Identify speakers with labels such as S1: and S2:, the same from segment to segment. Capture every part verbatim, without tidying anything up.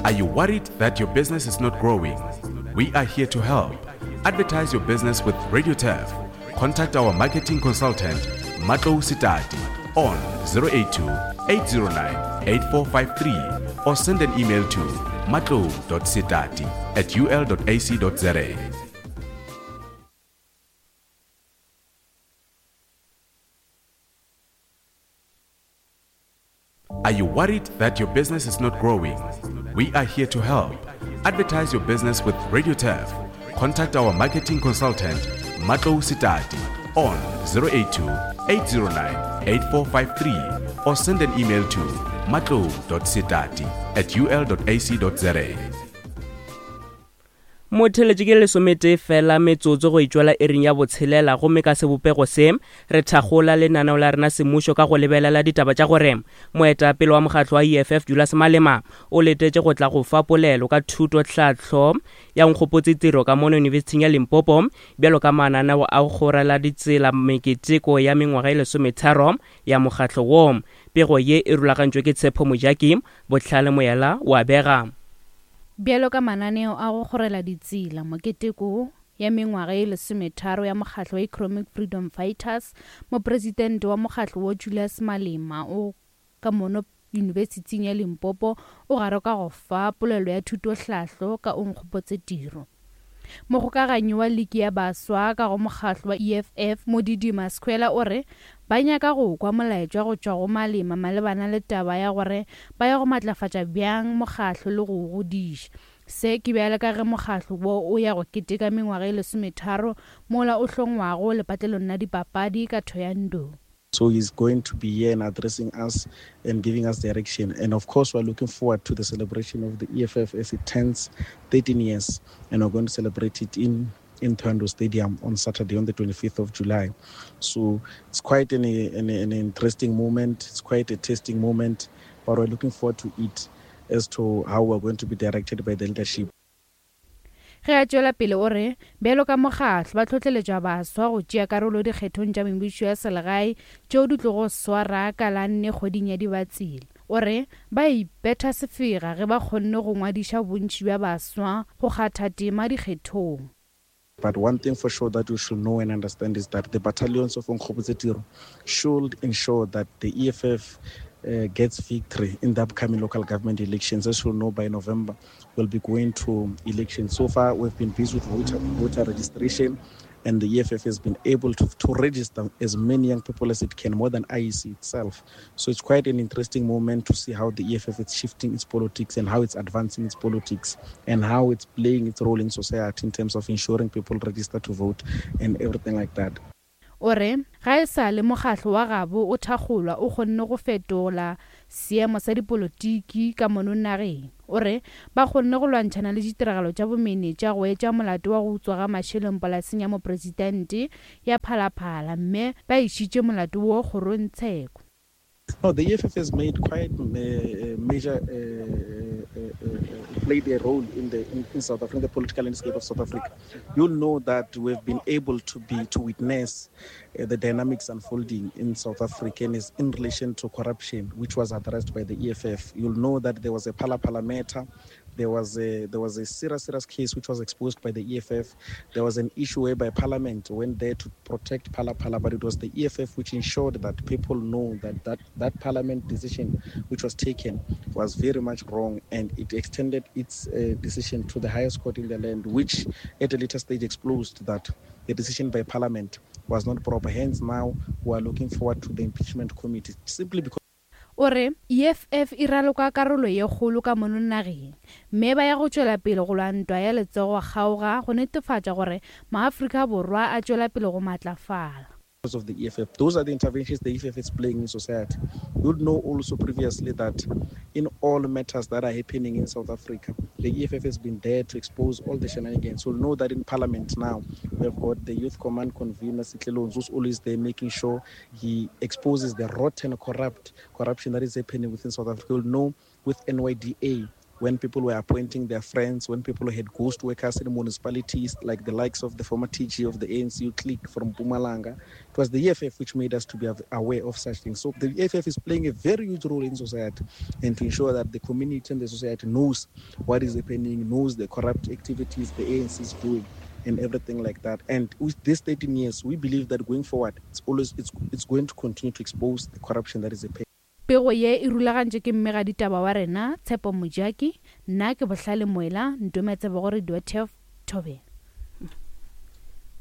S1: Are you worried that your business is not growing? We are here to help. Advertise your business with Radio Turf. Contact our marketing consultant, Matlou Sitati, on zero eight two, eight zero nine, eight four five three or send an email to matlou dot sitati at u l dot a c dot z a. Are you worried that your business is not growing? We are here to help. Advertise your business with Radio Turf. Contact our marketing consultant, Matlou Sitati, on zero eight two, eight zero nine, eight four five three or send an email to matlou dot sitati at u l dot a c dot z a.
S2: Motheletši ke lesomete fela metsotso go itšwela ering ya botshelela, gomme ka sebopego se re thakgola lenaneo la rena semmušo ka go lebelela ditaba tša gore moetapele wa mokgatlo wa E F F Julius Malema o letetše go tla go fa polelo ka thuto tlhahlo ya Nkgopotse Tiro ka mono Yunibesithing ya Limpopo bjalo ka mananeo a go kgorela ditsela meketeko ya mengwaga e lesometharo ya mokgatlo wo. Pego ye e rulagantšwe ke Tshepo Mojaki, Bohlale Moyela wa bega.
S3: Bjalo ka mananeo a go kgorela ditsela moketeko ya mengwaga e lesometharo ya mokgatlo wa Economic Freedom Fighters, mopresidente wa mokgatlo wo Julius Malema o ka mono Yunibesithing ya Limpopo o gare ka go fa polelo ya thutohlahlo ka Onkgopotse Tiro. Mogokaganyi wa liki ya baswa ka go mokgatlo wa E F F Modidima Skhwela o re ba nyaka go kwa molaetša go tšwa go Malema malebana le taba ya gore ba ya go matlafatša bjang mokgatlo le go o godiša. Se ke bjale ka ge mokgatlo wo o ya go keteka mengwaga e lesometharo mola o hlongwago lepatlelong la dipapadi ka Thohoyandou.
S4: So he's going to be here and addressing us and giving us direction. And of course, we're looking forward to the celebration of the E F F as it turns thirteen years. And we're going to celebrate it in, in Thohoyandou Stadium on Saturday, on the twenty-fifth of July. So it's quite an, an, an interesting moment. It's quite a testing moment. But we're looking forward to it as to how we're going to be directed by the leadership.
S3: Ge a tšwela pele o re bjalo ka mokgatlo ba tlhohleletša baswa go tšea karolo dikgethong tša mebušo ya selegae tšeo di tlogo swara ka la nne kgweding ya Dibatsela. O re ba ipetha sefega ge ba kgonne go ngwadiša bontši bja baswa go kgatha tema dikgethong.
S4: But one thing for sure that you should know and understand is that the battalions of Onkgopotse Tiro should ensure that the E F F, uh, gets victory in the upcoming local government elections. As you know, by November, we'll be going to elections. So far, we've been busy with voter, voter registration, and the E F F has been able to, to register as many young people as it can, more than I E C itself. So it's quite an interesting moment to see how the E F F is shifting its politics and how it's advancing its politics and how it's playing its role in society in terms of ensuring people register to vote and everything like that.
S3: O re ga e sa le mokgatlo wa gabo o thakgolwa o kgonne go fetola seemo sa dipolotiki ka mono nageng. O re ba kgonne go lwantšhana le ditiragalo tša bomenetša go etša molato wa go utswa ga mašeleng polaseng ya mopresidente ya Phalaphala, mme ba išitše molato wo kgorongtsheko.
S4: No, the E F F has made quite a major, uh, uh, uh, played a role in the in, in South Africa, in the political landscape of South Africa. You'll know that we've been able to be to witness, uh, the dynamics unfolding in South Africa and is in relation to corruption, which was addressed by the E F F. You'll know that there was a Phalaphala matter. There was a there was a serious, serious case which was exposed by the E F F. There was an issue whereby Parliament went there to protect Phalaphala, but it was the E F F which ensured that people know that that, that Parliament decision which was taken was very much wrong, and it extended its, uh, decision to the highest court in the land, which at a later stage exposed that the decision by Parliament was not proper. Hence, now we are looking forward to the impeachment committee, simply because
S3: O re E F F e raloka karolo ye kgolo ka mono nageng, mme ba ya go tšwela pele go lwa ntwa ya letsogo kgaoga go netefatša gore maAfrika Borwa a tšwela pele go matlafala.
S4: Of the E F F. Those are the interventions the E F F is playing in society. You'd know also previously that in all matters that are happening in South Africa, the E F F has been there to expose all the shenanigans. You'll know that in Parliament now, we have got the Youth Command convener, Sihle Lonzi, who's always there making sure he exposes the rotten, corrupt corruption that is happening within South Africa. You'll know with N Y D A, when people were appointing their friends, when people had ghost workers in municipalities, like the likes of the former T G of the A N C clique from Mpumalanga. It was the E F F which made us to be aware of such things. So the E F F is playing a very huge role in society, and to ensure that the community and the society knows what is happening, knows the corrupt activities the A N C is doing, and everything like that. And with these thirteen years, we believe that going forward, it's always it's, it's going to continue to expose the corruption that is happening.
S3: Pego ye e rulagantšwe ke mmegaditaba wa rena Tshepo Mojaki, nna ke Bohlale Moela, ntometse gore Radio Turf Thobela.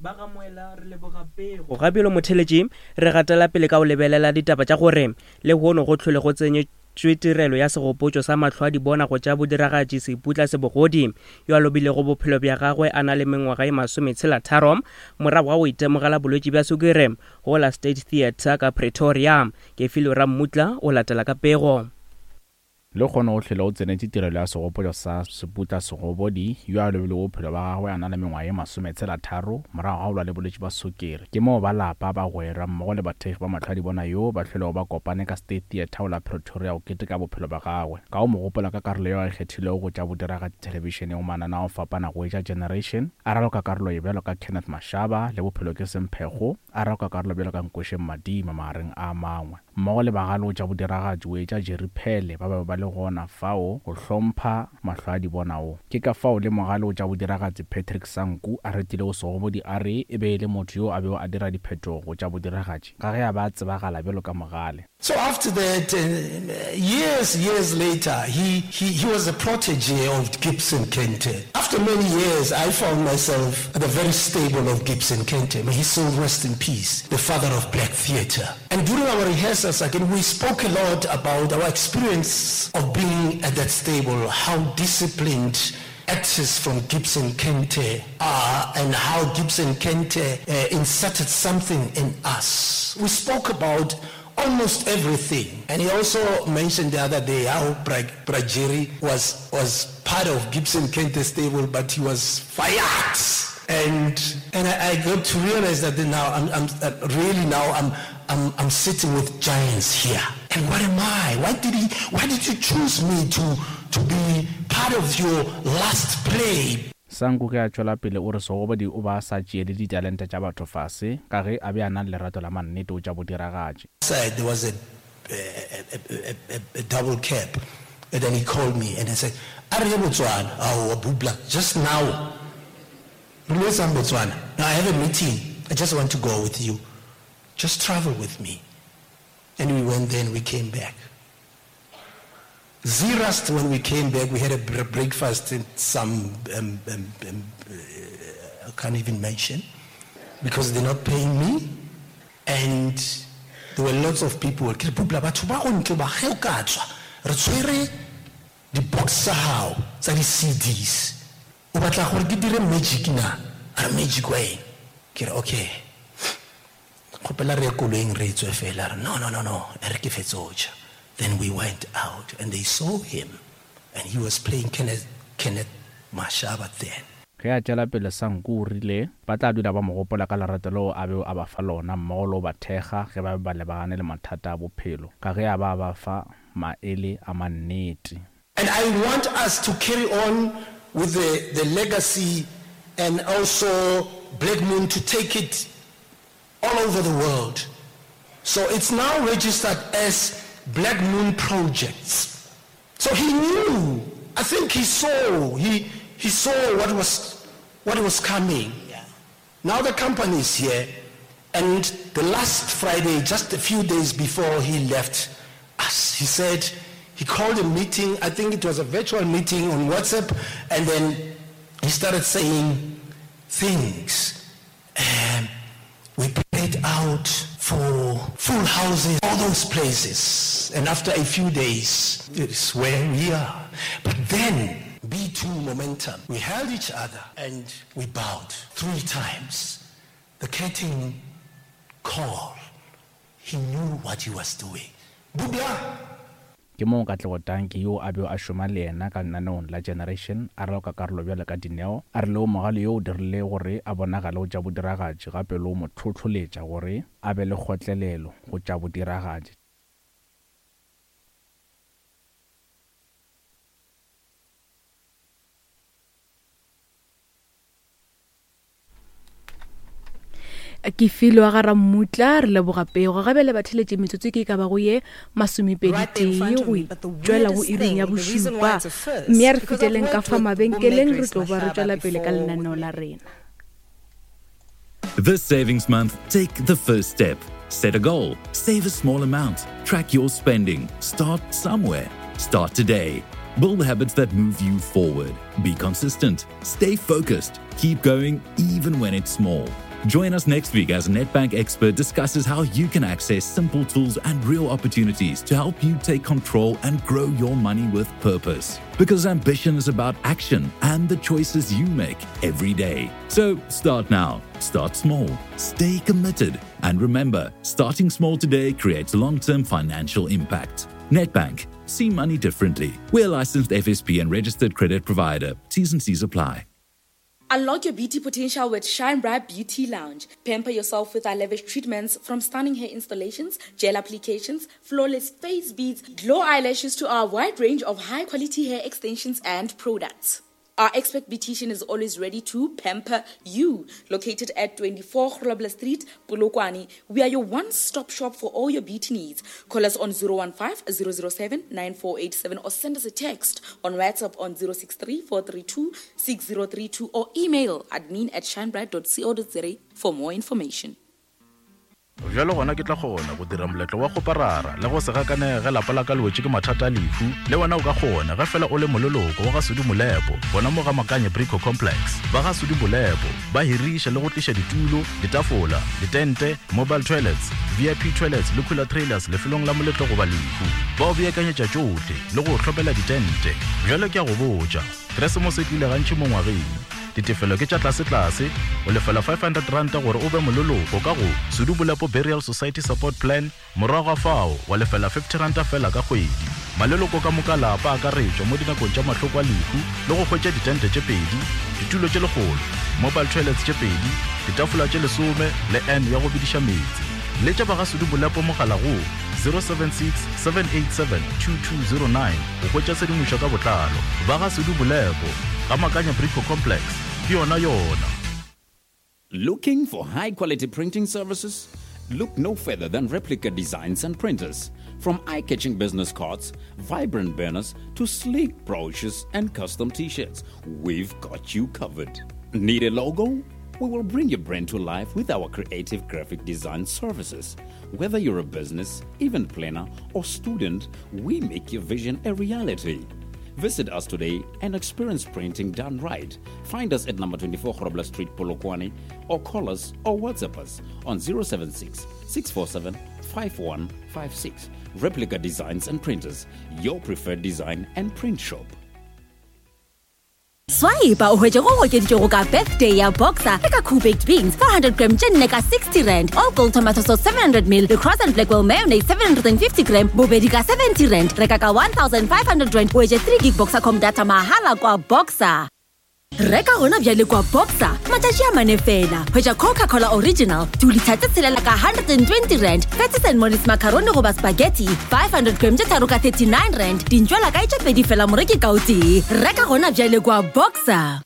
S2: Ba ga Moela re leboga pego. Gabjalo motheletši re gatela pele ka go lebelela ditaba tša gore lehono go tlhole go tsenyetšwe tirelo ya segopotšo sa mahlo a dibona go tša bodiragatši Seputla Sebogodi yo a lobilego bophelo bja gagwe a na le mengwaga e masometshela tharo morago ga go itemogela bolwetši bja sukiri go la State Theatre ka Pretoria. Kefilo Rammutla o latela ka pego.
S5: Le kgone go tlhole o tsenetše tirelo ya segopotšo sa Seputla Sebogodi yo a lobilego bophelo bja gagwe a na le mengwaga e masometshela tharo morago ga go lwa le bolwetši bja sukiri. Ke moo ba lapa bagwera mmogo le bathekgi ba mahlo a dibona yo ba hlolego ba kopane ka State Theatre go la Pretoria go keteka bophelo bja gagwe. Ka go mo gopola ka karolo yeo a e kgethilego go tša bodiragatši thelebišeneng go mananeo a go fapana go etša Generation, a raloka karolo ye bjalo ka Kenneth Mashaba le Bophelo ke Semphego, a raloka karolo bjalo ka Nkošeng Madima magareng a mangwe. Mmogo le bagale go tša bodiragatši go etša Jerry Phele ba be ba le gona fao go hlompha mahlo a dibona wo. Ke ka fao le mogale go tša bodiragatši Patrick Sanku a retilego Segobodi a re e be e le motho yo a bego a dira diphetogo go tša bodiragatši ka ge a ba a tsebagala bjalo ka mogale.
S6: So after that, uh, years, years later, he, he, he was a protege of Gibson Kente. After many years, I found myself at the very stable of Gibson Kente. May his soul rest in peace, the father of black theatre. And during our rehearsals, again, we spoke a lot about our experience of being at that stable, how disciplined actors from Gibson Kente are, and how Gibson Kente uh, inserted something in us. We spoke about almost everything. And he also mentioned the other day how Brajeri was, was part of Gibson Kente stable, but he was fired. And and I, I got to realize that now I'm, I'm uh, really now I'm, I'm I'm sitting with giants here. And what am I? Why did he? Why did you choose me to to be part of your last play?
S5: Sanku ge a tšwela pele o re Segobodi o ba sa tšeele ditalente tša batho fase ka ge a be a na le lerato la mannete go tša bodiragatši.
S6: There was a, a, a, a, a double cab, and then he called me and I said, "Are you Botswana? Oh, Bubla, just now. Botswana. Now I have a meeting. I just want to go with you. Just travel with me." And we went there and we came back. Zeerust, when we came back, we had a breakfast in some, um, um, um, uh, I can't even mention, because they're not paying me. And there were lots of people. The box tsa di-C Ds. O batla gore ke dire magic na? A re magic wa eng? Ke re okay. Kgopela re ye koloing re tswe fela. A re no, no, no, no. E re ke fetse ho ja. Then we went out and they saw him, and he was playing Kenneth, Kenneth Mashaba then.
S5: Ge a tšwela pele Sanku o rile ba tla dula ba mo gopola ka lerato leo a bego a ba fa lona mmogo le go ba thekga ge ba be ba lebagane le mathata a bophelo ka ge a ba a ba fa maele a mannete.
S6: And I want us to carry on with the, the legacy, and also Black Moon to take it all over the world. So it's now registered as Black Moon Projects. So he knew, I think he saw, he, he saw what was, what was coming.
S7: Yeah.
S6: Now the company is here, and the last Friday, just a few days before he left us, he said, he called a meeting, I think it was a virtual meeting on WhatsApp, and then he started saying things. Um, we prayed out for full houses, all those places. And after a few days, it is where we are. But then, B two momentum, we held each other and we bowed three times. The curtain call, he knew what he was doing. Bubla!
S5: Ke moo Katlego Tanki yo a bego a šoma le yena ka lenaneong la Generation a raloka karolo bjalo ka Dineo, a re leo mogale yo o dirile gore a bonagale go tša bodiragatši gape le go mo hlohloletša gore a be le kgotlelelo go tša bodiragatši.
S7: Ke filwe ga Rammutla, re leboga pego. Gabe le batheletše metsotso ke ka bago ye masomepedi tee go tšwela go iring ya bošupa. Mme a re feteleng ka fa mabenkeleng, re tlo ba re tšwela pele ka lenaneo la rena.
S8: This savings month, take the first step. Set a goal, save a small amount, track your spending, start somewhere. Start today. Build habits that move you forward. Be consistent. Stay focused. Keep going even when it's small. Join us next week as Nedbank expert discusses how you can access simple tools and real opportunities to help you take control and grow your money with purpose. Because ambition is about action and the choices you make every day. So start now, start small, stay committed, and remember, starting small today creates long-term financial impact. Nedbank, see money differently. We're a licensed F S P and registered credit provider. T's and C's apply.
S9: Unlock your beauty potential with Shine Bright Beauty Lounge. Pamper yourself with our lavish treatments, from stunning hair installations, gel applications, flawless face beads, glow eyelashes to our wide range of high-quality hair extensions and products. Our expert beautician is always ready to pamper you. Located at twenty-four Grobler Street, Polokwane, we are your one-stop shop for all your beauty needs. Call us on zero one five, zero zero seven, nine four eight seven or send us a text on WhatsApp on zero six three, four three two, six zero three two or email admin at shinebright dot co dot za for more information.
S1: Bjalo gona ke tla kgona go dira moletlo wa go parara le go se gakanege lapa la ka le wetše ke mathata a lehu. Le wena o ka kgona ge fela o le moleloko wa ga Sudi Molepo, gona mo ga Makanye Brico Complex. Ba ga Sudi Molepo ba hiriša le go tliša ditulo, ditafola, ditente, mobile toilets, V I P toilets le cooler trailers lefelong la moletlo goba lehu. Ba o beakanyetša tšohle le go hlopela ditente. Bjalo ke a go botša, Keresemose e tlile gantši mo ngwageng. Ditefelo ke tša tlase-tlase, o lefela five hundred rand gore o be moleloko ka go Sudi Molepo Burial Society Support Plan, morago ga fao wa lefela fifty rand fela ka kgwedi. Maleloko ka moka lapa a akaretšwa mo dinakong tša mahloko a lehu le go hwetša ditente tše pedi, ditulo tše lekgolo, mobile toilets tše pedi, ditafola tše lesome le N ya go bediša meetse. Letša ba ga Sudi Molepo mogala go zero seven six, seven eight seven, two two zero nine go hwetša tshedimošo ka botlalo. Ba ga Sudi Molepo ga Makanya Brico Complex, ke yona yona.
S10: Looking for high-quality printing services? Look no further than Replica Designs and Printers. From eye-catching business cards, vibrant banners, to sleek brochures and custom t-shirts, we've got you covered. Need a logo? We will bring your brand to life with our creative graphic design services. Whether you're a business, event planner, or student, we make your vision a reality. Visit us today and experience printing done right. Find us at number twenty-four Grobler Street, Polokwane, or call us or WhatsApp us on zero seven six, six four seven, five one five six. Replica Designs and Printers, your preferred design and print shop.
S11: Swipe o hwetše go okeditšwego ka birthday ya Boxer le ka Cool Baked Beans four hundred gram tše nne ka sixty rand, All Gold Tomato Sauce seven hundred mil le Cross and Blackwell Mayonnaise seven hundred and fifty gram bobedi ka seventy rand. Reka ka one thousand five hundred rand o hwetše three gig Boxercom data mahala kwa Boxer. Reka gona bjale kwa Boxer matšatši a mane fela. Hwetša Coca-Cola Original two litre tše tshelela ka hundred and twenty rand, Patties and Molly's macaroni goba spaghetti five hundred gram tše tharo ka thirty-nine rand, dintšwela kae tše pedi fela moreki ka o tee. Reka gona bjale kwa Boxer.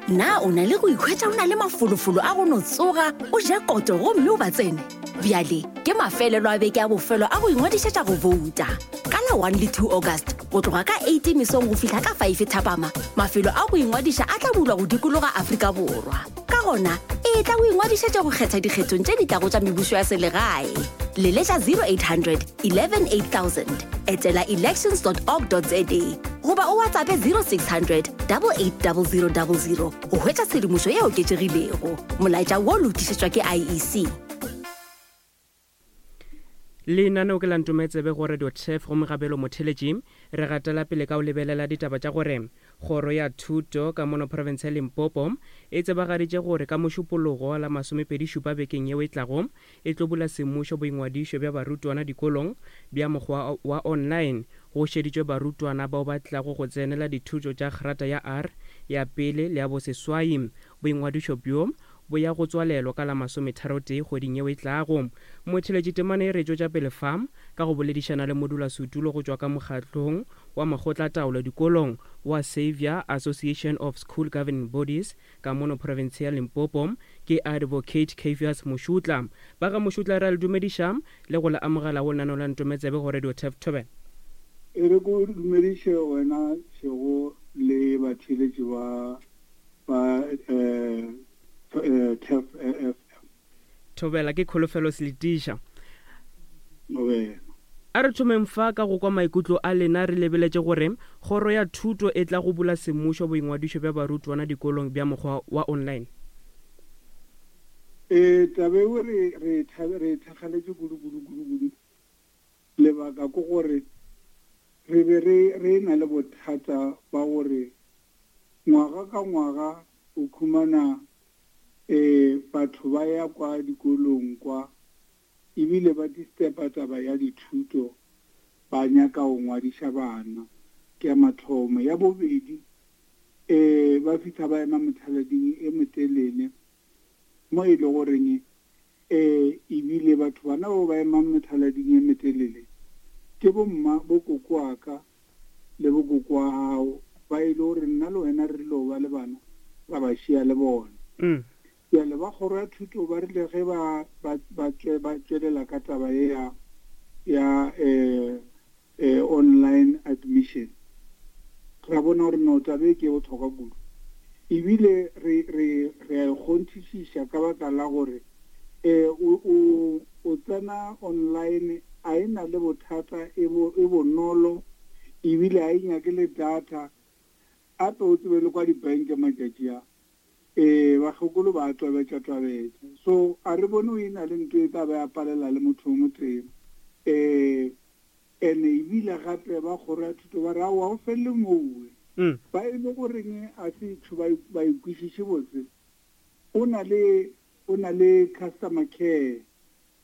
S11: Na o na le go ikhwetša o na le mafolofolo a go no tsoga o ja koto gomme o ba tsene? Bjale ke mafelelo a beke a bofelo a go ingwadišetša go vouta. Ka la one le two August go tloga ka eight mesong go fihla ka five thapama, mafelo a go ingwadiša a tla bulwa go dikologa Afrika Borwa. Ka gona e tla go ingwadišetša go kgetha dikgethong tše di tlago tša mebušo ya selegae. Leletša zero eight hundred, eleven eight thousand, etela elections dot org dot za goba o WhatsApp zero six hundred, double eight double zero double zero go hwetša tshedimošo ye oketšegilego. Molaetša wo lokišetšwa ke I E C.
S2: Lenaneo ke la Ntometsebe go Radio Turf go Mogabelo Motheletši. Re gatela pele ka o lebelela ditaba tša gore kgoro ya thuto ka mono province ya Limpopo e tsebagaditše gore ka mošupologo la masomepedi šupa bekeng yeo e tlago e tlo bula semmušo boingwadišo bja barutwana dikolong bja mokgwa wa online. Go šeditšwe barutwana bao ba tlago go tsenela dithuto tša grata ya R ya pele le ya boseswai. Boingwadišo bjo bo ya go tswalelwa ka la masometharotee kgweding yeo e tlago. Motheletši temana e re tšwetša pele fa ka go boledišana le modulasetulo go tšwa ka mokgatlong wa makgotlataolo dikolong wa Xavier Association of School Governing Bodies ka mono province ya Limpopo, ke Advocate Cavius Mošutla. Ba ga Mošutla, re a le dumediša le go le amogela go lenaneo la Ntometsebe go Radio Turf Thobela.
S12: E re ko dumediše wena Šego le batheeletši ba ba eh, eh, Turf F M.
S2: Thobela, ke Kholofelo Seletiša.
S12: Thobela.
S2: A re thomeng fa ka go kwa maikutlo a lena re lebeletše gore kgoro ya thuto e tla go bula semmušo boingwadišo bja barutwana dikolong bja mokgwa wa online.
S12: E taba eo re re re thakgaletše kudu kudu kudu kudu. Lebaka ke gore re be re re na le bothata ba gore ngwaga ka ngwaga o khumana eh batho ba ya kwa dikolong kwa ebile ba disturba taba ya dithuto, ba nyaka go ngwadiša bana. Ke ya mathomo. Ya bobedi, eh ba fihla ba ema mothalading e motelele mo e le goreng eh ebile batho bana bao ba emang mothalading e motelele ke bomma bo koko wa ka le bo koko wa gago, ba e le gore nna le wena re rile ba le bana ra ba šia le bona.
S2: Mm.
S12: Bjale ba kgoro ya thuto ba rile ge ba ba ba ba tšwelela ka taba ye ya ya eh eh online admission, ra bona gore no taba e ke bohlokwa kudu, ebile re re re a e kgonthišiša ka baka la gore eh o o o tsena online a e na le bothata, e bo e bonolo, ebile a e nyake le data. Ape o tsebe le kwa dibanke matšatši a eh bakgekolo ba twabetša twabetša, so a re bone o e na le ntho e tla ba ya palela le motho o motee. Eh ene ebile gape ba kgoro ya thuto ba re aowa o felele mowe, ba e le goreng a se tšho ba e kwešiše botse. O na le o na le customer care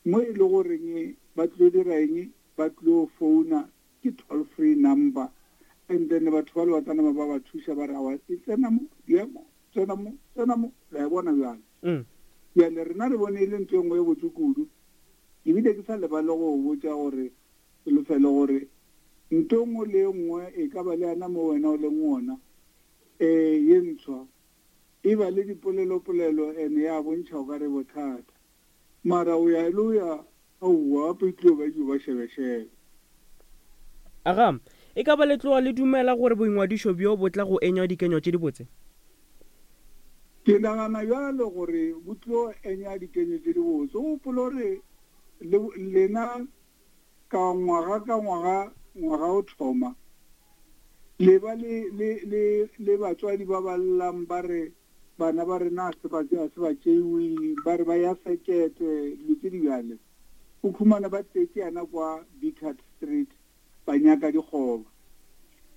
S12: mo e le goreng ba tlo dira eng, ba tlo founa ke toll free number, and then batho ba le ba tla ba ba thuša ba re aowa e tsena mo ya mo tsena mo tsena mo, la e bona bjale. Bjale rena re bone e le ntho e nngwe e botse kudu, ebile ke sa lebale go botša gore lefele gore ntho nngwe le nngwe e ka ba le yana mo wena o leng ona eh ye ntshwa e ba le dipolelopolelo ene ya bontšha o ka re bothata, mara o ya le o ya aowa gape e tlilo ba dio ba šebešebe.
S2: Aga, e ka ba le tloga le dumela gore boingwadišo bjo bo tla go enywa dikenyo tše dibotse?
S12: Ke nagana bjalo gore bo tlo enya dikenyo tše dibotse. O gopola gore lena ka ngwaga ka ngwaga ngwaga o thoma le ba le le le le batswadi ba ba llang ba re bana ba rena se ba se ba tšeiwe, ba re ba ya sekete dilo tše di bjale. O khumana ba tletše yana kwa Bickert Street ba nyaka dikgoba.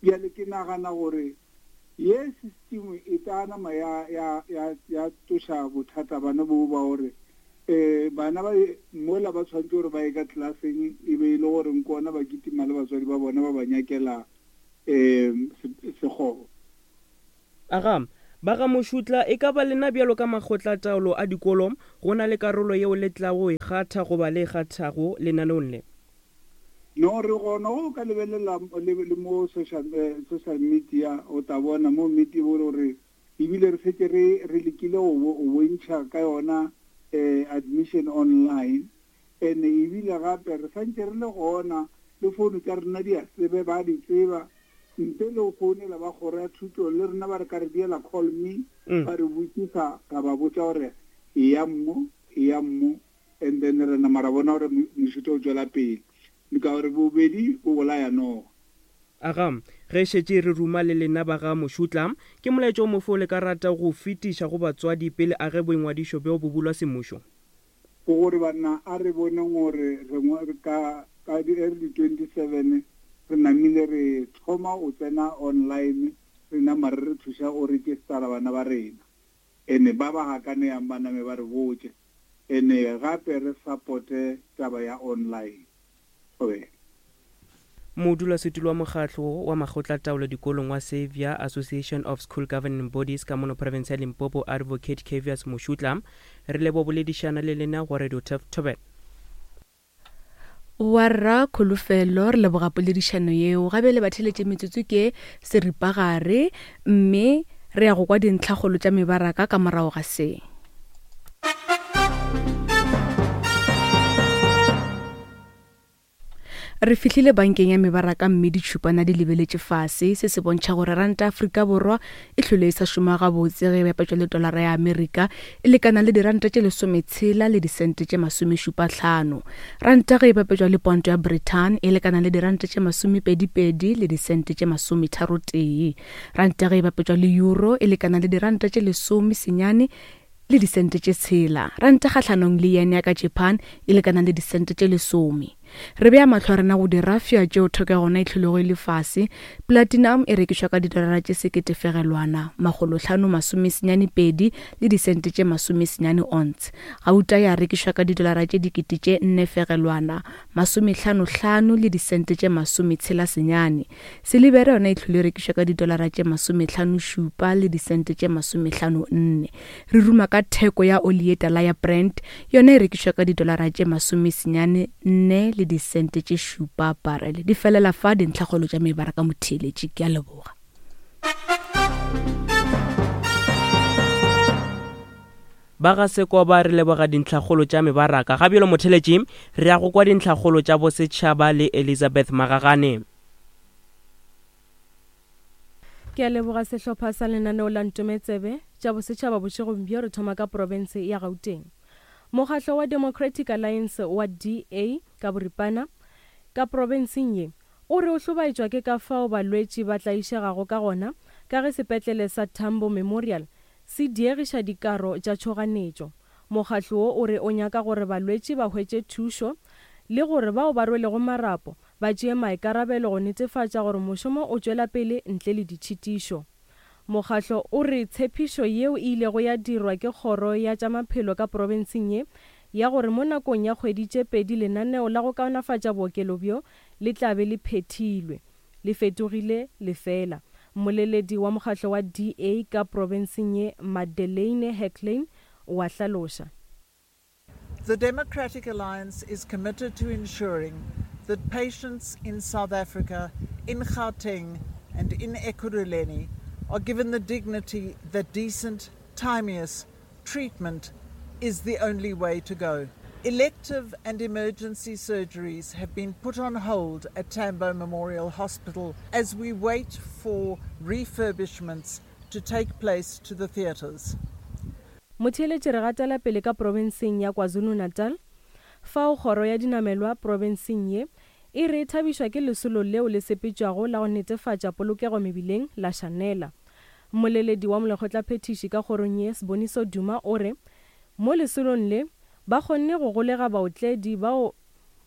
S12: Bjale ke nagana gore ye system e tla nama ya ya ya ya toša bothata bana bo ba gore eh bana ba mola ba tshwanetse gore ba ye ka tlelaseng e be e le gore nkona ba kitima le batswadi ba bona ba ba nyakela eh sekgoba.
S2: Aga, ba ga Mošutla, e ka ba lena bjalo ka makgotlataolo a dikolo go na le karolo yeo le tla go e kgatha goba le e kgathago lenaneong le?
S12: No, re gona go ka lebelela le mo social social media, o tla bona mo media gore ebile re setse re re lekile go bontšha ka yona eh admission online, ene ebile gape re santse re le gona le founu tša rena di a tsebe ba di tseba ntle le go founela ba kgoro ya thuto le rena ba re ka re diela call me, ba re botsisa ra ba botša gore e ya mmo e ya mmo, and then re nama ra bona gore mošuto o tšwela pele ka gore bobedi bo bolaya noga.
S2: Aga, ge šetše re ruma le lena ba ga Mošutla, ke molaetšo o mofo le ka rata go fetiša go batswadi pele a ge boingwadišo bjo bo bulwa semmušo?
S12: Ke gore banna a re boneng gore re ka ka di twenty-seven re namile re thoma o tsena online, re nama re re thuša o registera bana ba rena, ene ba ba gakaneyang ba name ba re botše, ene gape re supporte taba ya online. Thobela.
S2: Modulasetulo wa mokgatlo wa makgotlataolo dikolong wa Xavier Association of School Governing Bodies ka mono province ya Limpopo, Advocate Cavius Mošutla, re lebo boledišana le lena go Radio Turf Thobela.
S7: Warra Kholofelo, re leboga poledišano yeo. Gabe le batheletše metsotso ke seripagare, mme re ya go kwa dintlhakgolo tša mebaraka ka morago ga se. Re fihlile bankeng ya mebaraka mme ditšhupana di lebeletše fase. Se se bontšha gore ranta Afrika Borwa e hlole e sa šoma gabotse ge e bapetšwa le tolara ya Amerika, e lekana le diranta tše lesometshela le disente tše masomešupa hlano. Ranta ge e bapetšwa le ponto ya Britain e lekana le diranta tše masomepedipedi le disente tše masometharotee. Ranta ge e bapetšwa le euro e lekana le diranta tše lesome senyane le disente tše tshela. Ranta kgahlanong le yen ya ka Japan e lekana le disente tše lesome. Re bea mahlo a rena go dirafša tšeo theko ya gona e hlolego e le fase. Platinum e rekišwa ka didolara tše seketefegelwana makgolohlano masomesenyane pedi le disente tše masomesenyane ounce. Gauta ya rekišwa ka didolara tše dikete tše nne fegelwana masomehlanohlano le disente tše masometshela senyane. Silibere yona e hlole e rekišwa ka didolara tše masomehlano šupa le disente tše masomehlano nne. Re ruma ka theko ya oli ye tala ya Brent, yona e rekišwa ka didolara tše masomesenyane nne le disente tše šupa barele. Di felela fa dintlhakgolo tša mebaraka motheeletši. Ke a leboga.
S2: Ba ga Sekoba re leboga dintlhakgolo tša mebaraka. Ga bjalo motheeletši re ya go kwa dintlhakgolo tša bosetšhaba le Elizabeth Magagane.
S13: Ke a leboga sehlopha sa lenaneo la Ntometsebe tša bosetšhaba bošegong bjo. Re thoma ka profense ya Gauteng. Mokgatlo wa Democratic Alliance wa D A ka boripana ka profenseng ye o re o hlobaetšwa ke ka fao balwetši ba tlaišegago ka gona ka ge sepetlele sa Tambo Memorial se diegiša dikaro tša tšhoganetšo. Mokgatlo wo o re o nyaka gore balwetši ba hwetše thušo le gore bao ba rwelego marapo ba tšee maikarabelo go netefatša gore mošomo o tšwela pele ntle le ditšhitišo. Mokgatlo o re tshepišo yeo e ilego ya dirwa ke kgoro ya tša maphelo ka profenseng ye ya gore mo nakong ya kgwedi tše pedi lenaneo la go kaonafatša bookelo bjo le tla be le phethilwe, le fetogile lefela. Mmoleledi wa mokgatlo wa D A ka profenseng ye Madeleine Hecklane o a hlaloša.
S14: The Democratic Alliance is committed to ensuring that patients in South Africa, in Gauteng and in Ekurhuleni are given the dignity that decent, timeous treatment is the only way to go. Elective and emergency surgeries have been put on hold at Tambo Memorial Hospital as we wait for refurbishments to take place to the theatres.
S13: Motheeletši re gatela pele ka profenseng ya KwaZulu-Natal, fao kgoro ya dinamelwa profenseng ye e re e thabišwa ke lesolo leo le sepetšwago la go netefatša polokego mebileng la Shanela. Mmoleledi wa molekgotlaphethiši ka kgorong ye Siboniso Duma o re mo lesolong le ba kgonne go golega baotledi bao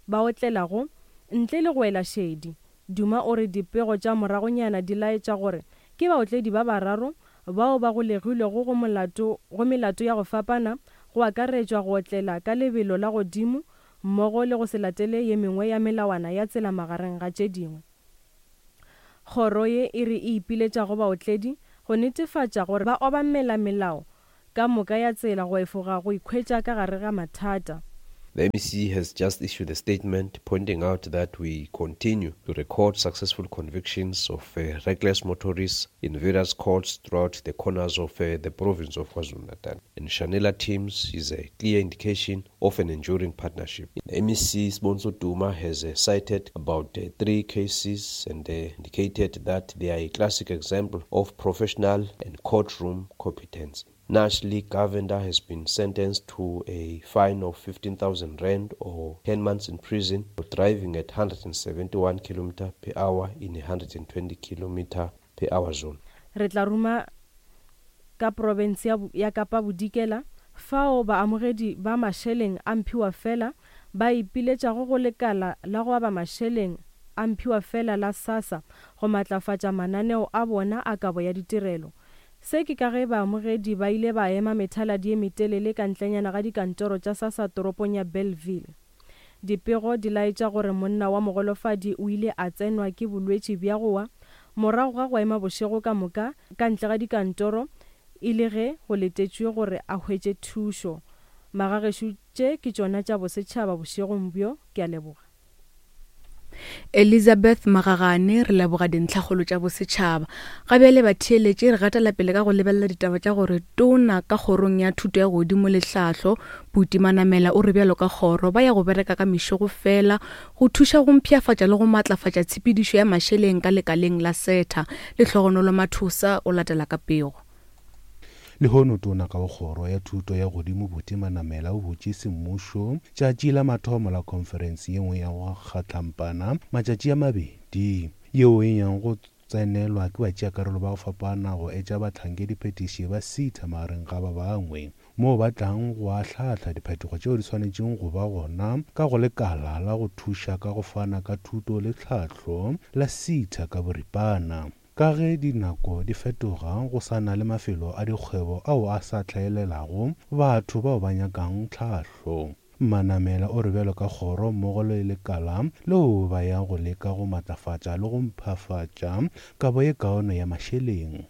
S13: ba otlelago ntle le go ela šedi. Duma o re dipego tša moragonyana di laetša gore ke baotledi ba bararo bao ba golegilwego go molato go melato ya go fapana, go akaretšwa go otlela ka lebelo la godimo mmogo le go se latele ye mengwe ya melawana ya tsela magareng ga tše dingwe. Kgoro ye e re e ipiletša go baotledi go netefatša gore ba obamela melao ka moka ya tsela go efoga go ikhwetša ka gare ga mathata.
S15: The M E C has just issued a statement pointing out that we continue to record successful convictions of, uh, reckless motorists in various courts throughout the corners of, uh, the province of KwaZulu-Natal. And Shanela teams is a clear indication of an enduring partnership. The M E C Siboniso Duma has, uh, cited about, uh, three cases and, uh, indicated that they are a classic example of professional and courtroom competence. Nashley Govender has been sentenced to a fine of fifteen thousand rand or ten months in prison for driving at hundred seventy-one kilometers per hour in a hundred twenty kilometers per hour zone.
S13: Re tla ruma ka province ya, ya Kapa Bodikela fao baamogedi ba mašeleng a mphiwa fela ba ipiletšago go lekala la go aba mašeleng a mphiwa fela la SASSA go matlafatša mananeo a bona a kabo ya ditirelo. Se ke ka ge baamogedi ba ile ba ema methaladi ye metelele ka ntlenyana ga dikantoro tša SASSA toropong ya Bellville. Dipego di laetša gore monna wa mogolofadi o ile a tsenwa ke bolwetši bja go wa morago ga go ema bošego ka moka ka ntle ga dikantoro e le ge go letetšwe gore a hwetše thušo. Magagešo tše ke tšona tša bosetšhaba bošegong bjo. Ke a leboga.
S7: Elizabeth Magagane re leboga dintlhakgolo tša bosetšhaba. Ga bjale batheeletše re gatela pele ka go lebelela ditaba tša gore tona ka kgorong ya thuto ya godimo le tlhahlo Buti Manamela o re bjalo ka kgoro ba ya go bereka ka mešogo fela go thuša go mpshafatša le go matlafatša tshepedišo ya mašeleng ka lekaleng la SETA. Lehlogonolo Mathosa o latela ka pego.
S16: Lehono tona ka kgoro ya thuto ya godimo Buti Manamela o butše semmušo tšatši la mathomo la khonferense ye nngwe ya go kgatlampana matšatši a mabedi yeo e yang go tsenelwa ke batšeakarolo ba go fapana go etša bahlankediphetiši ba SETA magareng ga ba bangwe moo ba tlang go ahlahla diphetogo tšeo di swanetšeng go ba gona ka go lekala la go thuša ka go fana ka thuto le tlhahlo la SETA ka boripana. Ka ge dinako di fetoga go sa na le mafelo a dikgwebo ao a sa hlaelelago batho bao ba nyakang tlhahlo. Manamela o re bjalo ka kgoro mmogo le lekala leo ba ya go leka go matlafatša le go mphafatša kabo ye kaone ya mašeleng.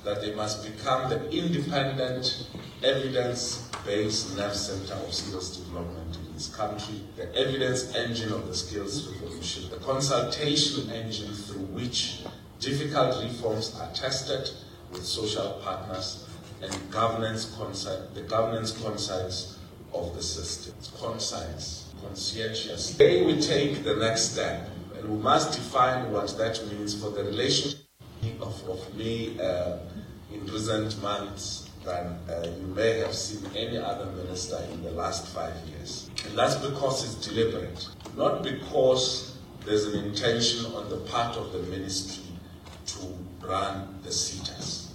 S17: That they must become the independent, evidence-based nerve center of skills development in this country, the evidence engine of the skills revolution, the consultation engine through which difficult reforms are tested with social partners and governance consi- the governance conscience of the system. Conscience, conscientious. Today we take the next step, and we must define what that means for the relationship of, of me uh, in recent months than uh, you may have seen any other minister in the last five years. And that's because it's deliberate, not because there's an intention on the part of the ministry to run the SETAs.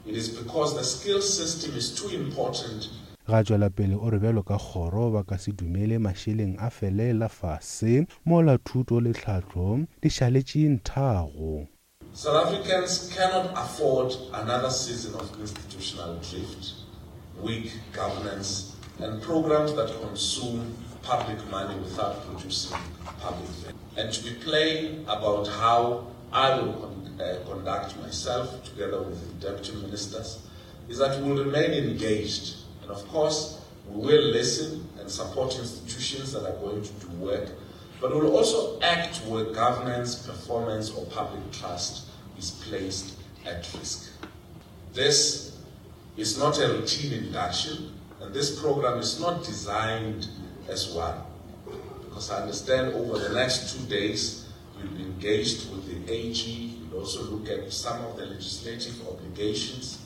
S17: It is because the skills system is too important.
S16: Ga tšwela pele o re bjalo ka kgoro ba ka se dumele mašeleng a felela fase mola thuto le tlhahlo di šaletše nthago.
S17: South Africans cannot afford another season of institutional drift, weak governance, and programs that consume public money without producing public value. And to be plain about how I will con- uh, conduct myself together with the deputy ministers is that we will remain engaged. And of course, we will listen and support institutions that are going to do work, but we will also act where governance, performance, or public trust is placed at risk. This is not a routine induction, and this program is not designed as one. Because I understand over the next two days, you'll be engaged with the A G, you'll also look at some of the legislative obligations,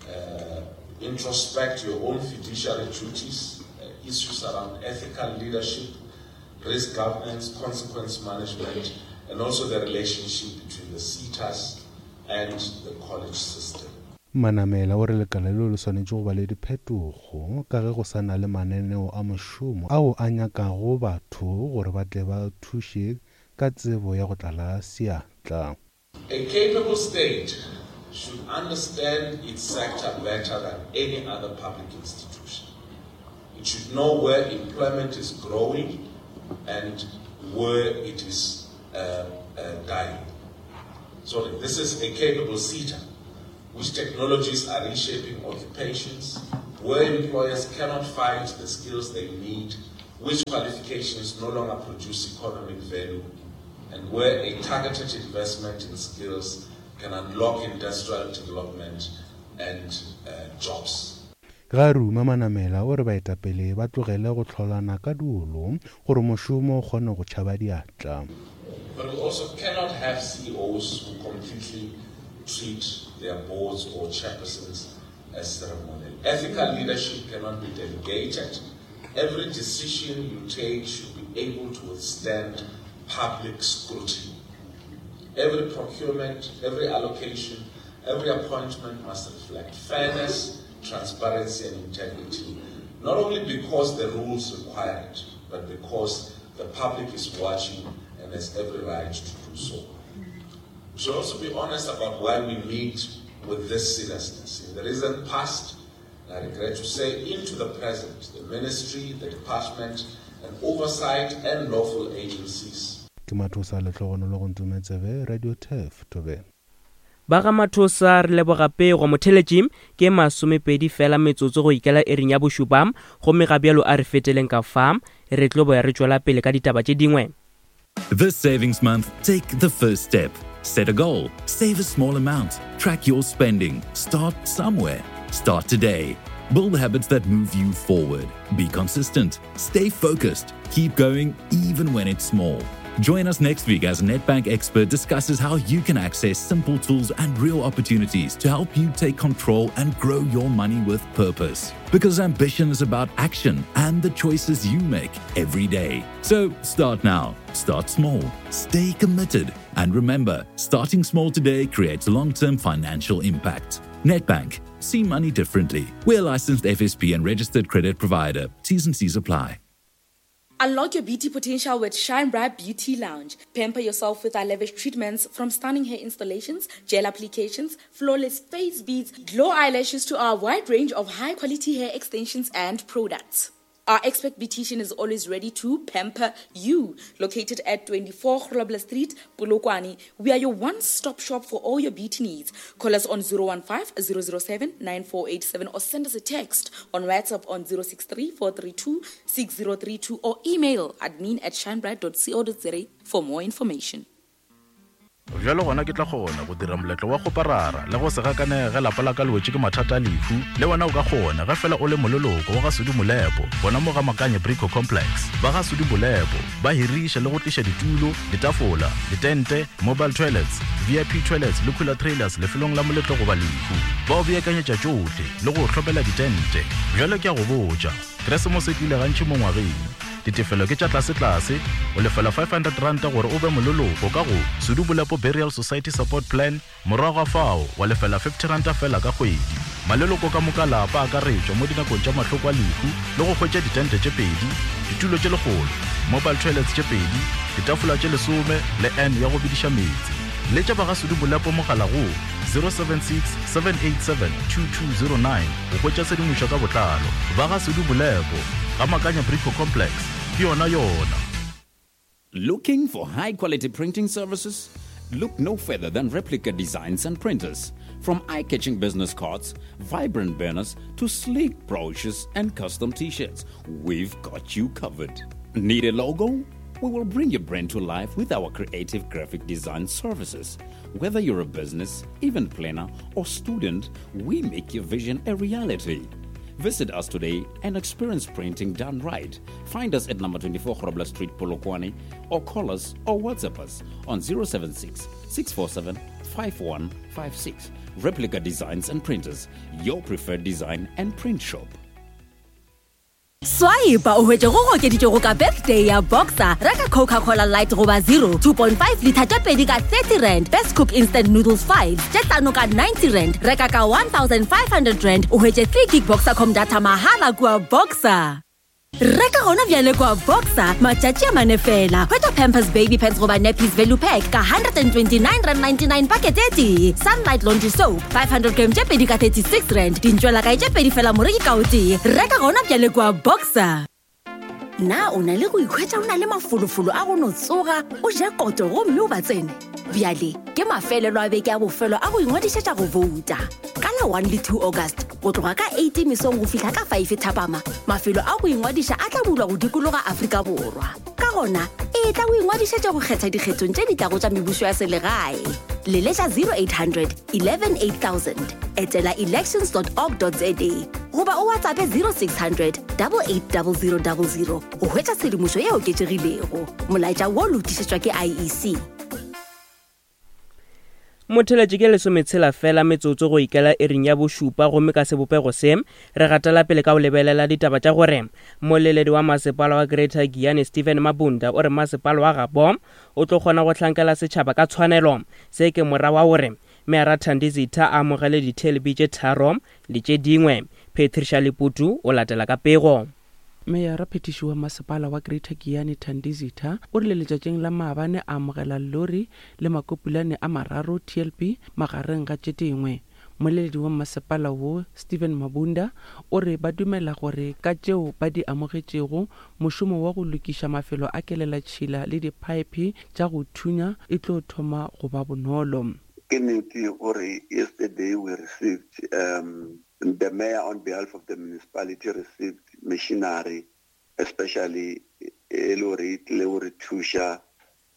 S17: uh, introspect your own fiduciary duties, uh, issues around ethical leadership, risk governance, consequence management, and also the relationship between the SETAs and the college system.
S16: Manamela o re lekala leo le swanetše go ba le diphetogo ka ge go sa na le mananeo a mošomo ao a nyakago batho gore ba tle ba thuše ka tsebo ya go tlala seatla.
S17: A capable state should understand its sector better than any other public institution. It should know where employment is growing and where it is uh, uh, dying. Sorry, this is a capable SETA, which technologies are reshaping occupations, where employers cannot find the skills they need, which qualifications no longer produce economic value, and where a targeted investment in skills can unlock industrial development and uh, jobs.
S16: Ga ruma Manamela o re baetapele ba tlogele go tlholana ka diolo gore mošomo o kgone go tšhaba diatla.
S17: But we also cannot have C E Os who completely treat their boards or chairpersons as ceremonial. Ethical leadership cannot be delegated. Every decision you take should be able to withstand public scrutiny. Every procurement, every allocation, every appointment must reflect fairness, transparency, and integrity, not only because the rules require it, but because the public is watching and has every right to do so. We should also be honest about why we meet with this seriousness. In the recent past, and I regret to say into the present, the ministry, the department, and oversight and lawful agencies.
S16: Ke Mathosa Lehlogonolo go Ntometsebe, Radio Turf, Thobela.
S2: Ba ga Mathosa re leboga pego motheletši ke masomepedi fela metsotso go ikela ering ya bošupa, gomme ga bjalo a re feteleng ka fa re tlo boya re tšwela pele ka ditaba tše dingwe.
S8: This savings month, take the first step. Set a goal, save a small amount, track your spending, start somewhere. Start today. Build habits that move you forward. Be consistent, stay focused, keep going even when it's small. Join us next week as Nedbank Expert discusses how you can access simple tools and real opportunities to help you take control and grow your money with purpose. Because ambition is about action and the choices you make every day. So start now, start small, stay committed, and remember, starting small today creates long term financial impact. Nedbank, see money differently. We're a licensed F S P and registered credit provider. T's and C's apply.
S9: Unlock your beauty potential with Shine Bright Beauty Lounge. Pamper yourself with our lavish treatments, from stunning hair installations, gel applications, flawless face beads, glow eyelashes to our wide range of high-quality hair extensions and products. Our expert beautician is always ready to pamper you. Located at twenty-four Grobler Street, Polokwane, we are your one-stop shop for all your beauty needs. Call us on zero one five, zero zero seven, nine four eight seven or send us a text on WhatsApp on zero six three, four three two, six zero three two or email admin at shinebright dot co dot za for more information.
S18: Bjalo gona ke tla kgona go dira moletlo wa go parara le go se gakanege lapa la ka le wetše ke mathata a lehu. Le wena o ka kgona ge fela o le moleloko wa ga Sudi Molepo, bona mo ga Makanye Brico Complex. Ba ga Sudi Molepo ba hiriša le go tliša ditulo, ditafola, ditente, mobile toilets, V I P toilets le cooler trailers lefelong la moletlo goba lehu. Ba o beakanyetša tšohle le go hlopela ditente. Bjalo ke a go botša, Keresemose e tlile gantši mo ngwageng. Ditefelo ke tša tlase-tlase, o lefela five hundred rand gore o be moleloko ka go Sudi Molepo Burial Society Support Plan, morago ga fao wa lefela fifty rand fela ka kgwedi. Maleloko ka moka lapa a akaretšwa mo dinakong tša mahloko a lehu le go hwetša ditente tše pedi, ditulo tše lekgolo, mobile toilets tše pedi, ditafola tše lesome le N ya go bidiša meetse. Letša ba ga Sudi Molepo mogala go zero seven six, seven eight seven, two two zero nine go hwetša tshedimošo ka botlalo. Ba ga Sudi Molepo ga Makanya Brico Complex, ke yona yona.
S10: Looking for high-quality printing services? Look no further than Replica Designs and Printers. From eye-catching business cards, vibrant banners, to sleek brochures and custom t-shirts, we've got you covered. Need a logo? We will bring your brand to life with our creative graphic design services. Whether you're a business, event planner, or student, we make your vision a reality. Visit us today and experience printing done right. Find us at number twenty-four Grobler Street, Polokwane, or call us or WhatsApp us on zero seven six, six four seven, five one five six. Replica Designs and Printers, your preferred design and print shop.
S11: Swipe o hwetše go okeditšego ka birthday ya Boxer. Reka Coca-Cola Light goba zero, two point five liter tše pedi ka thirty rand. Best Cook Instant Noodles five tše hlano ka ninety rand. Reka ka one thousand five hundred rand o hwetše three gig Boxercom data mahala kua Boxer. Reka gona bjale kwa Boxer matšatši a mane fela. Hwetša Pampers Baby Pants goba Nappies Value Pack ka one hundred twenty-nine rand ninety-nine packet e tee. Sunlight Laundry Soap five hundred gram tše pedi ka thirty-six rand. Dintšwela kae tše pedi fela moreki ka o tee. Reka gona bjale kwa Boxer. Na o na le go ikhwetša o na le mafolofolo a go no tsoga, o je koto gomme o ba tsene? Bjale ke mafelelo a beke a bofelo a go ingwadišetša go vouta. Ka la one le two August, go tloga ka eight mesong go fihla ka five thapama, mafelo a go ingwadiša a tla bulwa go dikologa Afrika Borwa. Ka gona, e tla go ingwadišetša go kgetha dikgethong tše di tlago tša mebušo ya selegae. Leletša zero eight hundred, eleven eight thousand, etela elections dot org dot za goba o WhatsApp zero six hundred, double eight double zero double zero go hwetša tshedimošo ye oketšegilego. Molaetša wo lotišetšwa ke I E C.
S2: Motheletši ke lesometshela fela metsotso go ikela ering ya bošupa, gomme ka sebopego se re gatela pele ka go lebelela ditaba tša gore moleledi wa masepala wa Greater Giyani Stephen Mabunda o re masepala wa gabo o tlo kgona go hlankela setšhaba ka tshwanelo. Se ke mora wa gore Meara Thandi Zitha a amogele di-T L B tše tharo le tše dingwe. Patricia Leputu o latela ka pego.
S19: Meyara phetiši wa masepala wa Greater Giyani Thandi Zitha o rile letšatšing la maabane a amogela lori le makopulane a mararo T L B magareng ga tše dingwe. Moleledi wa masepala wo Stephen Mabunda o re ba dumela gore ka tšeo ba di amogetšego mošomo wa go lokiša mafelo a kelelatšhila le diphaephe tša go thunya e tlo thoma go ba bonolo.
S20: Ke nnete gore yesterday we received um the mayor on behalf of the municipality received machinery, especially e le hore e tlile go re thuša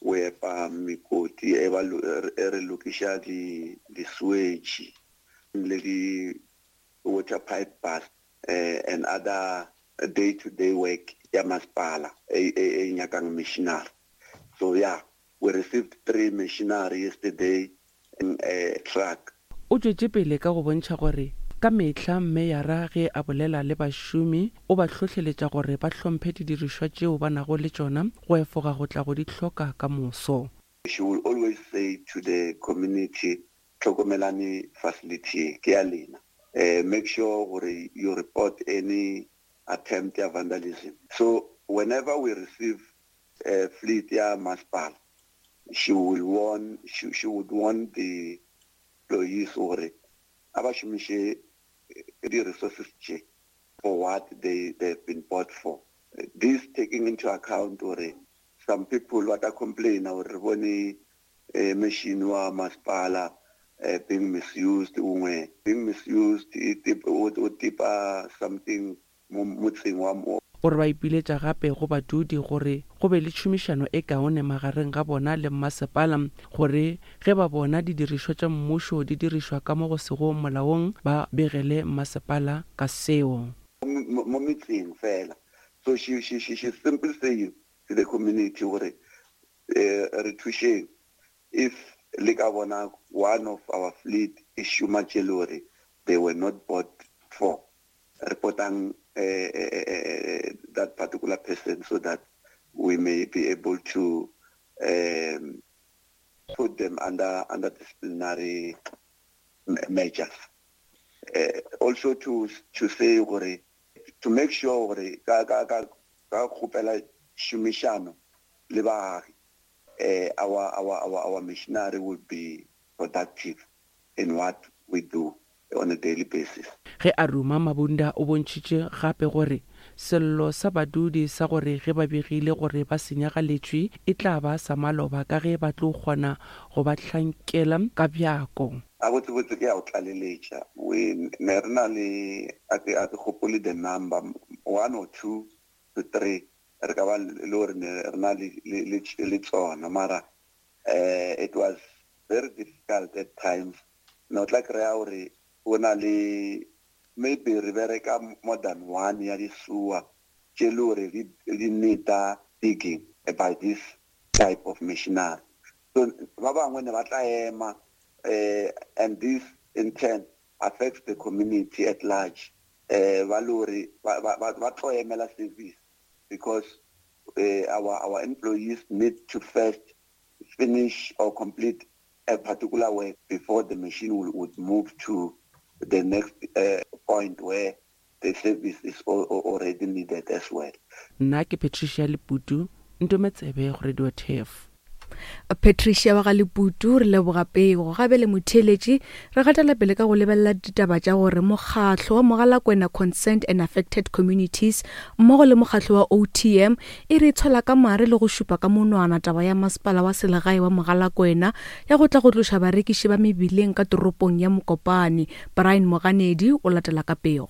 S20: O epa mekoti e ba e re lokiša di di sewage le di water pipe burst eh, and other day to day work ya masepala e e nyakang machinery. So yeah, we received three machinery yesterday in a truck.
S19: O tšwetše pele ka go bontšha gore ka mehla meyara ge a bolela le bašomi o ba hlohleletša gore ba hlomphe didirišwa tšeo ba nago le tšona go efoga go tla go di hloka ka moso.
S20: She will always say to the community, hlokomelane facility ke ya lena. Uh, make sure gore you report any attempt ya vandalism. So whenever we receive a fleet ya masepala, she will warn, she, she would warn the employees gore a ba šomiše di-resources tše for what they, they've been bought for. This taking into account gore some people ba tla complain gore re bone eh, machine wa masepala eh, being misused, ungwe being misused o tipa something motseng wa mo.
S19: O re ba ipiletša gape go badudi gore go be le tšhomišano e kaone magareng ga bona le mmasepala gore ge ba bona didirišwa tša mmušo di dirišwa ka mo go sego molaong ba begele mmasepala ka seo.
S20: Mo metseng fela. So she, she, she, she's simply saying to the community gore eh, re thušeng if le ka bona one of our fleet e šoma tše le gore they were not bought for, reportang uh, uh, that particular person so that we may be able to um, put them under, under disciplinary measures. Uh, also to, to say gore, to make sure gore ka, ka, ka, ka kgopela tšhomišano le baagi, uh, our, our, our, our machinery will be productive in what we do on a daily basis.
S19: Ge a ruma Mabunda o bontšhitše gape gore sello sa badudi sa gore ge ba begile gore ba senyagaletšwe e tla ba sa maloba ka ge ba tlo kgona go ba hlankela ka bjako.
S20: A botsebotse ke ya go tlaleletša. We ne re na le, a ke, a ke gopole the number, one or two to three, re ka ba le gore ne re na le, le, le, le tsona, mara, eh, it was very difficult at times. No tla kry-a gore go na le maybe re bereka more than one ya disuwa tše le gore di, di need-a digging by this type of machinery. So ba bangwe ne ba tla ema, eh, and this in turn affects the community at large. Eh, ba le gore ba, ba, ba, ba tlo emela service because, eh, our, our employees need to first finish or complete a particular work before the machine will, would move to the next, uh, point where the service is al-, al-, already needed as well.
S19: Nna ke Patricia Leputu, Ntometsebe go Radio Turf.
S7: Patricia wa ga Leputu, re leboga pego. Gabe le motheeletši, re gatela pele ka go lebelela ditaba tša gore mokgatlo wa Mogalakwena Concerned and Affected Communities mmogo le mokgatlo wa O T M e re tshola ka mare le go šupa ka monwana taba ya masepala wa selegae wa Mogalakwena ya go tla go tloša barekiši ba mebileng ka toropong ya Mokopane. Brian Moganedi o latela ka pego.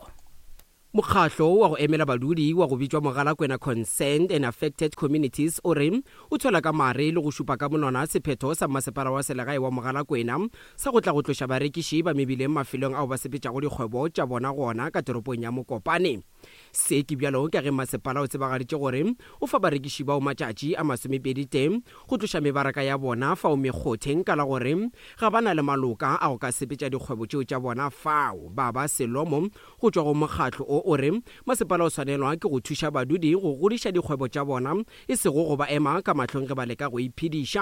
S21: Mokgatlo wa go emela badudi wa go bitšwa Mogalakwena Concerned and Affected Communities o re o tswela ka mare le go šupa ka monwana sephetho sa masepala wa selegae wa Mogalakwena sa go tla go tloša barekiši ba mebileng mafelong ao ba sepetšago dikgwebo tša bona gona ka toropong ya Mokopane. Se ke bjalo ka ge masepala o tsebagaditše gore o fa barekiši bao matšatši a masomepedi tee go tloša mebaraka ya bona fao mekgotheng ka la gore ga ba na le maloka a go ka sepetša dikgwebo tšeo tša bona fao. Ba ba selomo go tšwa go mokgatlo o o re masepala o swanelwa ke go thuša badudi go godiša dikgwebo tša bona e sego go ba ema ka mahlong ge ba leka go iphediša.